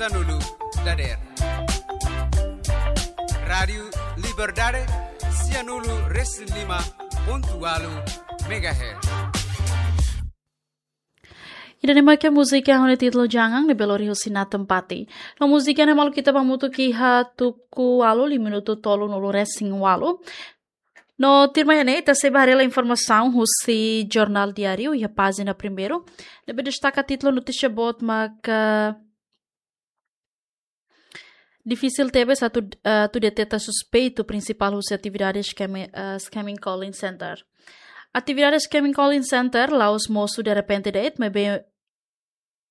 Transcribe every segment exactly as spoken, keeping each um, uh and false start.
Sanulu dader. Rádiu Liberdade, sianulu resin lima pontu ualu megahertz. Ida-ne'e mak múzika ho títulu Jangan ne'ebé lori husi Nathan Patti. No múzika ne'e maluk ita hamutuk iha tuku ualu, liu minutu tolunulu resin ualu. No tuirmai ne'e ita sei bá haree informasaun husi Jornál Diáriu iha pájina primeiru. Ne'ebé destaka títulu notísia boot maka difisil tebes atu, eh, atu deteta suspeitu prinsipál husi atividade scam-, eh, scamming calling center. Atividade scamming calling center la'ós mosu derrepente de'it, maibé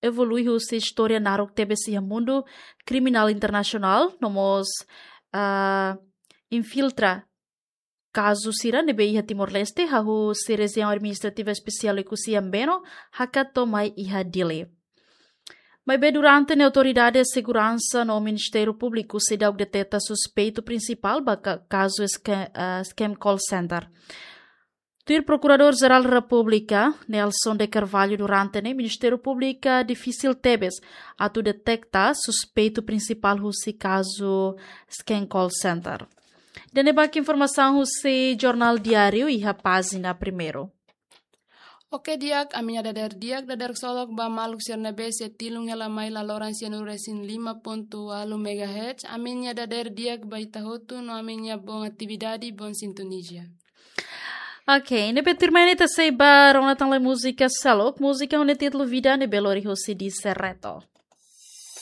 evolui husi istória naruk tebes iha mundu kriminál internasionál, no mós, ah, infiltra kazu sira ne'ebé iha Timor-Leste, hahú husi Rejiaun Administrativa Espesiál Oekusi Ambeno, hakat to'o mai iha Dili. Maibé durante ne'e autoridade seguransa no Ministériu Públiku seidauk deteta suspeitu prinsipál ba ka-, kazu sca-, ah, scam call center. Tuir Prokuradór Jerál Repúblika, Nelson de Carvalho, durante ne'e Ministériu Públiku difisil tebes atu deteta suspeitu prinsipál husi kazu scam call center. Ida-ne'e mak informasaun husi Jornál Diáriu iha pájina primeiru. Oke di'ak, ami-nia dader di'ak, dader ksolok ba maluk sira ne'ebé sei tilun hela mai laloran sianulu resin lima pontu ualu megahertz. Ami-nia dader di'ak ba ita hotu no ami-nia boot atividade, boot sintonia. Oke, ne'ebé tuirmai ne'e ita sei bá rona tan lai múzika seluk, múzika ho títulu Vida ne'ebé lori husi Dise Reto.